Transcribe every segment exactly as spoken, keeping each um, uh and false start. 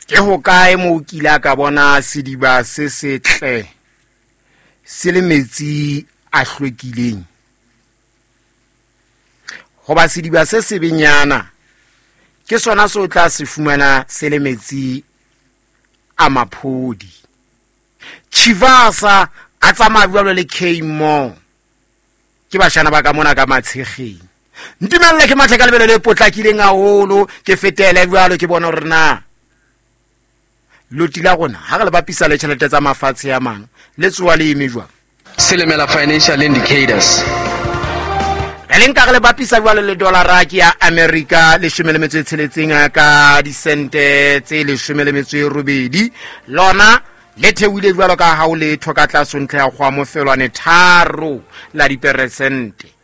Ke hokae moo o kile a ka bona sediba se setle se le metsi a hlwekileng? Hoba sediba se sebenyana ke sona se o tla se fumana se le metsi a maphodi. Chivasa a tsamaya jwalo le K-Mo. Ke bashana ba ka mona ka matshegeng. Ntumelle ke mathe ka lebelo le potlakileng haholo, ke fetele jwalo ke bona hore na loti la rona ha re le bapisa le tjhelete tsa mafatshe a mang le tsoa le eme jwang. Silimela financial indicators. Re le nka re le bapisa jwalo le dollara ke ya America leshome le metso e tsheletseng ka disente tse leshome le metso e robedi. Lona le theohile jwalo ka ha o letho ka tlase ntle ya kgwa mofelwane tharo la diperesente.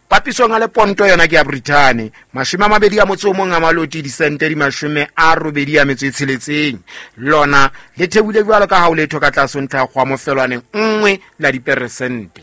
Papisong a le ponto yona ke ya Britain mashome a mabedi a motso o mong a maloti disente di mashome a robedi a metso e tsheletseng. Lona le theohile jwalo ka ha o letho ka tlase ntle ya kgwa mofelwane nngwe la diperesente.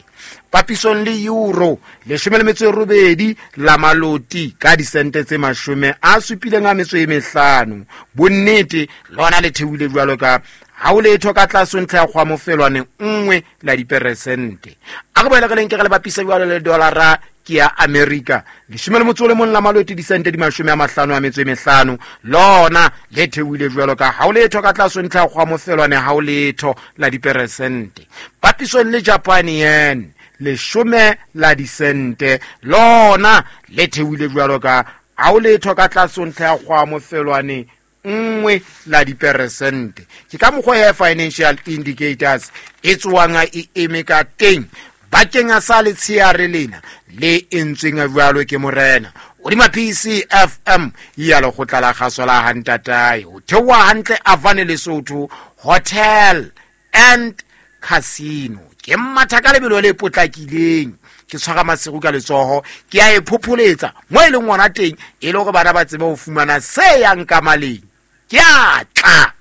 Papisong le euro leshome le metso e robedi la maloti ka disente tse mashome a supileng a metso e mehlano. Bonnete lona le theohile jwalo ka ha o letho ka tlase ntlha ya kgwa mofelwane nngwe la diperesente. A re boele re le nke re le bapisa jwalo le dollara ke ya America leshome le motso o le mong la maloti disente di mashome a mahlano a metso e mehlano. Lona le theohile jwalo ka ha o letho ka tlase ntlha ya kgwa mofelwane ha o letho la diperesente. Papisong le Japan yen leshome la disente lona le theohile jwalo ka ha o letho ka tlase ntlha ya kgwa mofelwane nngwe la diperesente. Ke ka mokgwa ya financial indicators e tswang e eme ka teng bakeng a sa letsheare lena le entsweng jwalo ke morena hodima P C F M ya lekgotla la kgaso la Hantatae. Ho theoha hantle Avane Lesotho Hotel and Casino. Ke matha ka lebelo le potlakileng, ke tshwara maseru ka letsoho, ke a e phopholetsa mo e leng ngwana teng e le hore bana ba tsebe ho fumana se yang ka maleng. Ke a tla.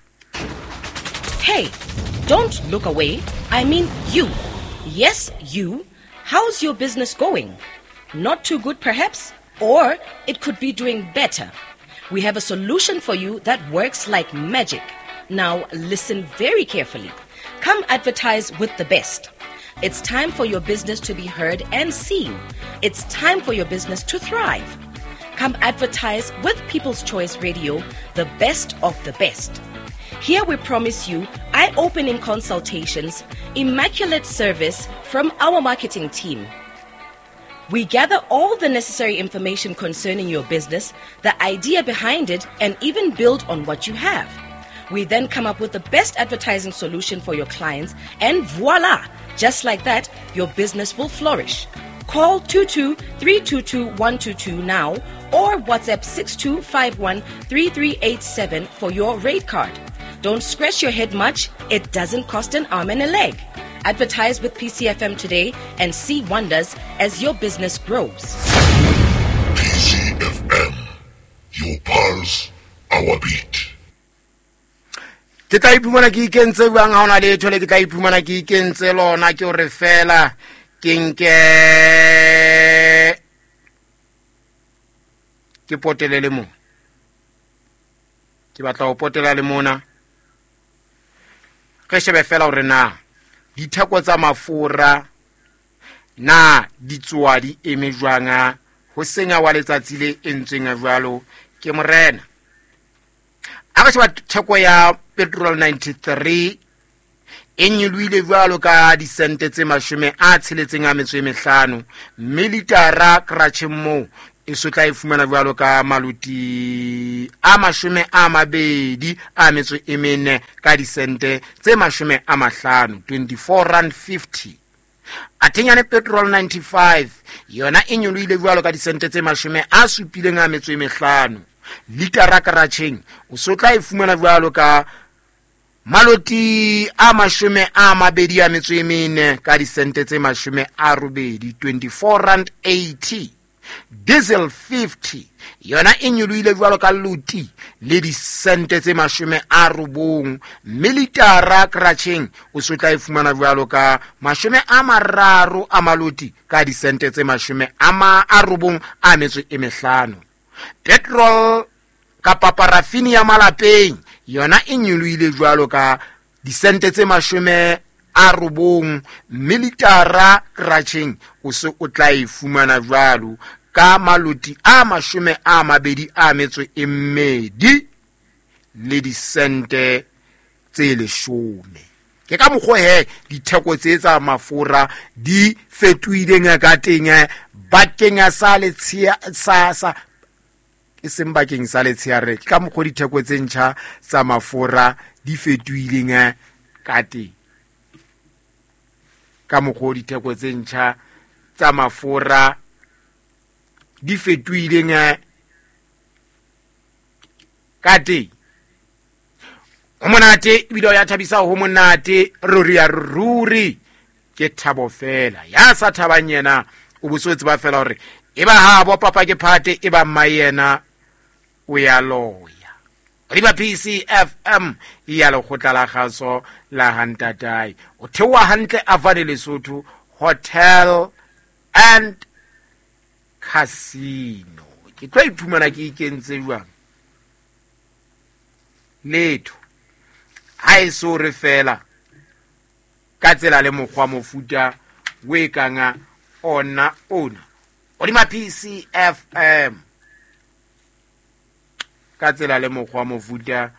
Hey, don't look away. I mean you. Yes, you. How's your business going? Not too good perhaps, or it could be doing better. We have a solution for you that works like magic. Now listen very carefully. Come advertise with the best. It's time for your business to be heard and seen. It's time for your business to thrive. Come advertise with People's Choice Radio, the best of the best. Here we promise you eye-opening consultations, immaculate service from our marketing team. We gather all the necessary information concerning your business, the idea behind it, and even build on what you have. We then come up with the best advertising solution for your clients, and voila! Just like that, your business will flourish. Call two two three two two one two two now or WhatsApp six two five one three three eight seven for your rate card. Don't scratch your head much. It doesn't cost an arm and a leg. Advertise with P C F M today and see wonders as your business grows. P C F M, your pulse, our beat. Ke tla iphumana ke ikentse jwang ha hona letho le ke tla iphumana ke ikentse lona ke hore fela ke nke ke potele le mo. Ke batla ho potela le mona. Re shebe fela hore na ditheko tsa mafura na di tsoa di eme jwang ho senya wa letsatsi le entsweng jwalo ke morena. A re sheba theko ya petrol ninety-three e nyolohile jwalo ka disente tse mashome a tsheletseng a metso e mehlano, mme litara kratjheng moo e so tla e fumana jwalo ka maloti a mashome a mabedi a metso e mene ka disente tse mashome a mahlano, twenty-four rand fifty. Atenyane petrol ninety-five yona e nyolohile jwalo ka disente tse mashome a supileng a metso e mehlano. Litara kratjheng o so tla e fumana jwalo ka maloti a mashome a mabedi a metso e mene ka disente tse mashome a robedi, twenty-four rand eighty. Diesel fifty yona e nyolohile jwalo ka loti le disente tse mashome a robong, mme litara kratjheng o so tla e fumana jwalo ka mashome a mararo a maloti ka disente tse mashome a ma a robong a metso e mehlano. Petrol Kapa parafini ya malapeng yona e nyolohile jwalo ka disente tse mashome a robong, mme litara kratjheng o se o tla e fumana jwalo ka maloti a mashome a mabedi a metso e mmedi le disente tse leshome. Ke ka mokgwa he ditheko tse tsa mafura di fetohileng ka teng bakeng sa letshia sa sa e seng bakeng sa letsheare. Ke ka mokgwa ditheko tse ntjha tsa mafura di fetohileng ka teng. Ka mokgwa ditheko tse ntjha tsa mafura di fetohileng ka teng. Ho monate ebile o ya thabisa, ho monate ruri ya ruri, ke thabo fela. Ya sa thabang yena o bo so tseba fela hore e ba ha bo papa ke phate, e ba mma yena o ya loya. Riba P C F M ya lekgotla la kgaso la Hantatai. O theoha hantle Avane Lesotho Hotel and Casino. Ke tlo iphumana ke ikentse jwang? Letho ha e so re fela ka tsela le mokgwa mofuta o e kanga ona ona. Hodima P C F M ka tsela le mokgwa mofuta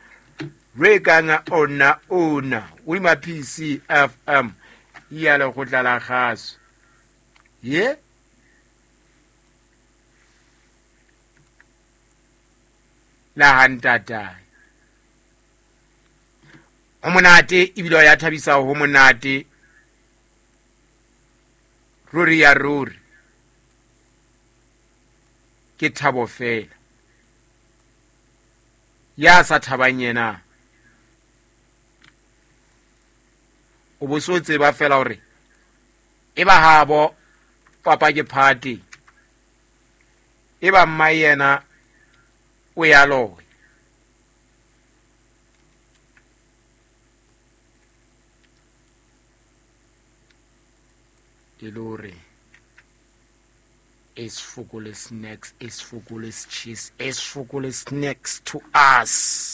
o e kanga ona ona. Hodima P C F M ya lekgotla la kgaso. Ye la Hantatai. Ho monate ebile ya thabisa, ho monate ruri ya ruri, ke thabo fela. Ya sa thabang yena o bo so tseba fela hore e ba habo papa ke phate, e ba mma yena o ya loya. Lore is fokole snacks, is fokole cheese, is fokole snacks to us.